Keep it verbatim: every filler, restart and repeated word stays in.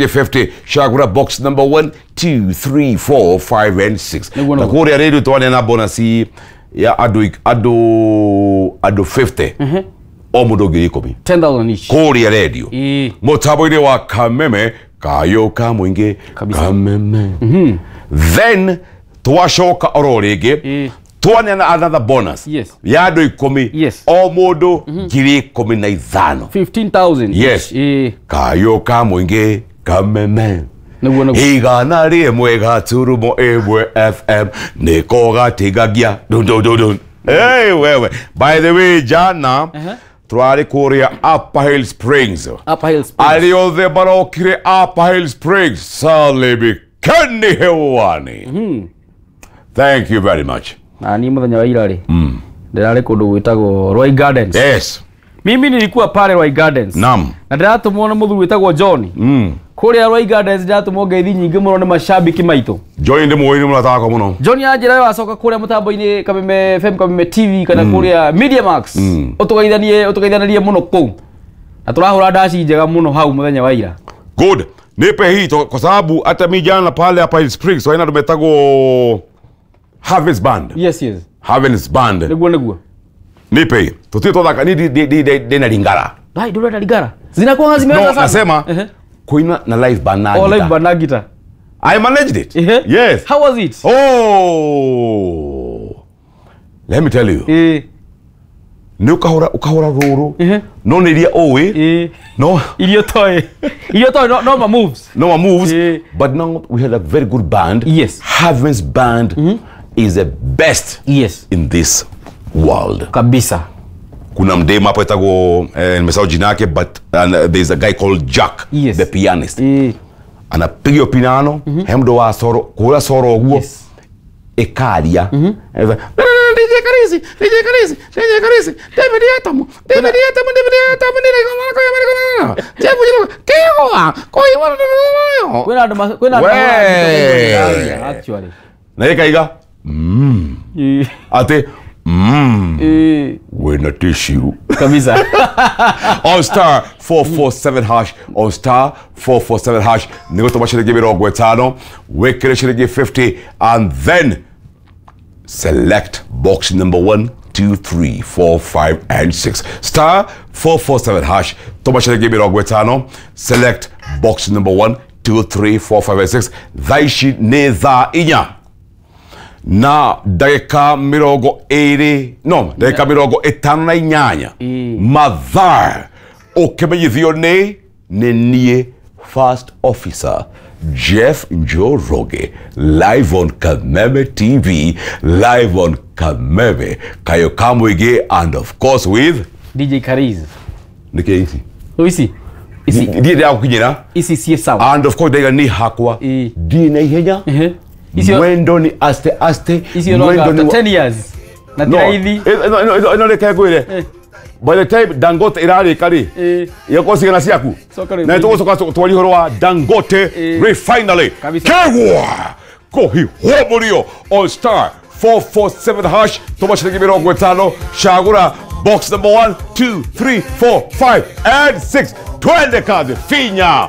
fifty cagũra box number one two three four five and six. Nĩguo, na nĩguo. Kũrĩa rĩrĩ twaneana bonus ya andũ andũ andũ fifty, o mũndũ ngiri ikũmi. ten thousand each. Kũrĩa radio Ĩĩ. mũtambo-inĩ wa Kameme, kayũ ka mũingĩ. Kabisa. Kameme. Then twacoka oro rĩngĩ, Ĩĩ. twaneana another bonus Yes. ya andũ ikũmi, Yes. o mũndũ ngiri ikũmi na ithano. fifteen thousand Yes. each. Ĩĩ. Kayũ ka mũingĩ, Kameme. Nĩguo, nĩguo. Igana rĩmwe gaturumo ĩmwe F M nĩko gatigagia dun dun dun dun. Hey, wewe, by the way, jana Uh-huh. tũrarĩ kũrĩa Upper Hill Springs. Upper Hill Springs. Arĩa othe marokire Upper Hill Springs, salimikeni hewani. Thank you very much. Na niĩ mũthenya wa ira rĩ, ndĩrarĩ kũndũ gwĩtagwo Roy Gardens. Yes mimi nilikuwa pale Roy Gardens Nam. Na ndĩratũmwo nĩ mũthuri wĩtagwo John mm. Kũrĩa Roy Gardens. Ndĩratũmwo ngeithi nyingĩ mũno nĩ mashabiki maitũ. Joy ndĩ mũĩ, nĩ mũrata wakwa mũno. John anjĩra wacoka kũrĩa mũtambo-inĩ Kameme F M, Kameme T V kana kũrĩa Media Max, ũtũgeithanie, ũtũgeithanĩrie mũno kũu, na tũrahũra ndaci njega mũno hau mũthenya wa ira. Good, nipe hii to- kwa sababu hata mi jana pale Upper Hill Springs waina tumetagwo Harvest Band. yes yes Harvest Band. Nĩguo, nĩguo. Nipe hii tutio twathaka ni ndi- ndi- ndi- ndina lingara. Dai, ndũrenda lingara, zinakuwa zimeweza No. sana. Nasema Ehe. kuina na live band na Oh, guitar. live band na guitar. I managed it. Ehe. Yes. How was it? Oh, let me tell you, Eh. nĩ ũkahũra ũkahũra rũrũ, Ehe. no nĩ iria ũĩ, Eh. no Irio toy, irio toy, no, no ma moves. No one moves. Eh. But now we had a very good band. Yes. Harvest Band is the best yes in this world. Kabisa. Kuna mdema hapo etagwo, eh, nimesahau jina yake, but and, uh, there's a guy called Jack, Yes. the pianist. Eh. Anapiga hiyo piano, he mdo wa soro kura soro ũguo, yes ĩkaria. D J Karisi, D J Karisi, D J Karisi, David Atamu, David Atamu, David Atamu, Kwĩna andũ ma- kwĩna andũ We. mahũraga actually. Na ĩkaiga Eh. atĩ mm, Eh. wĩna tissue. Kabisa. On star four four seven hash, on star four four seven hash, nĩ gũtũma ciringi mĩrongo ĩtano, wĩkĩre ciringi fifty and then select box number one two three four five and six. Star four four seven hash, tũma ciringi mĩrongo ĩtano, select box number one two three four five and six. Thaa ici nĩ thaa inya na ndagĩka mĩrongo ĩrĩ, no ndagĩka mĩrongo ĩtano na inyanya. Ĩĩ. Mathaa ũkĩmenyithio nĩ nĩ niĩ First Officer Jeff Njoroge, live on Kameme T V, live on Kameme Kayo Kamwige, and of course with D J Kariz. Nĩkĩ ici? Ici ici. Ndiĩ ndĩragũkinyĩra. Ici ciĩ sawa. And of course ndaiga nĩ hakwa. Ĩĩ. Ndiĩ na ihenya. Ehe. Icio Mwendo ni aste aste. Icio no Mwendo after ni ten years na ti no raithi. ĩno ĩno ĩno reke ngwĩre, Eh. by the time Dangote ĩrarĩka rĩ, Eh. ĩgakorwo cigana ciaku. Coka rĩ. Na tũgũcoka twarie ũhoro wa Dangote Eh. Refinery. Kabisa. Kegwa kũhiũhwo mũrio on star four four seven hash, tũma ciringi mĩrongo ĩtano, cagũra box number one two three four five and six. Twende kazi, finya.